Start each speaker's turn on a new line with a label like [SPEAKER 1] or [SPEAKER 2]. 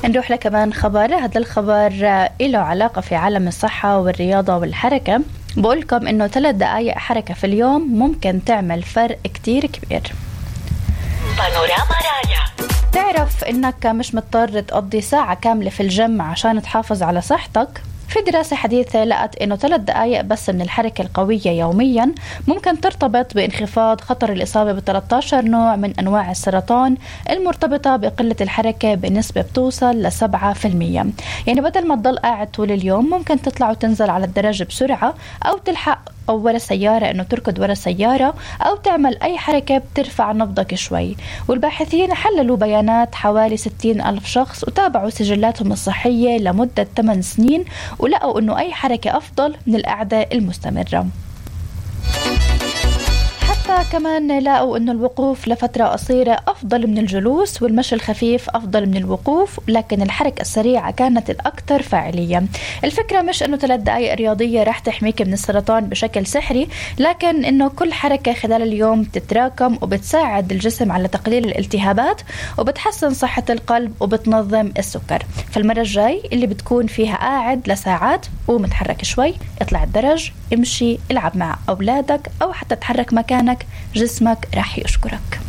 [SPEAKER 1] نروح لكمان خبر. هذا الخبر له علاقة في عالم الصحة والرياضة والحركة. بقولكم إنه 3 دقائق حركة في اليوم ممكن تعمل فرق كتير كبير. بانوراما رايا. تعرف إنك مش مضطر تقضي ساعة كاملة في الجيم عشان تحافظ على صحتك؟ في دراسة حديثة لقت إنه 3 دقائق بس من الحركة القوية يوميا ممكن ترتبط بانخفاض خطر الإصابة ب13 نوع من أنواع السرطان المرتبطة بقلة الحركة بنسبة بتوصل ل7%. يعني بدل ما تضل قاعد طول اليوم ممكن تطلع وتنزل على الدرج بسرعة، أو تلحق أو ورا سيارة إنه تركض ورا سيارة، أو تعمل أي حركة بترفع نبضك شوي. والباحثين حللوا بيانات حوالي 60,000 شخص وتابعوا سجلاتهم الصحية لمدة 8 سنين، ولقوا إنه أي حركة أفضل من القعدة المستمرة. كمان لقوا إنه الوقوف لفترة قصيرة أفضل من الجلوس، والمشي الخفيف أفضل من الوقوف، لكن الحركة السريعة كانت الأكثر فاعلية. الفكرة مش إنه 3 دقائق رياضية راح تحميك من السرطان بشكل سحري، لكن إنه كل حركة خلال اليوم تتراكم وبتساعد الجسم على تقليل الالتهابات وبتحسن صحة القلب وبتنظم السكر. فالمرة الجاي اللي بتكون فيها قاعد لساعات ومتحرك شوي، اطلع الدرج، امشي، العب مع أولادك، أو حتى تحرك مكانك، جسمك راح يشكرك.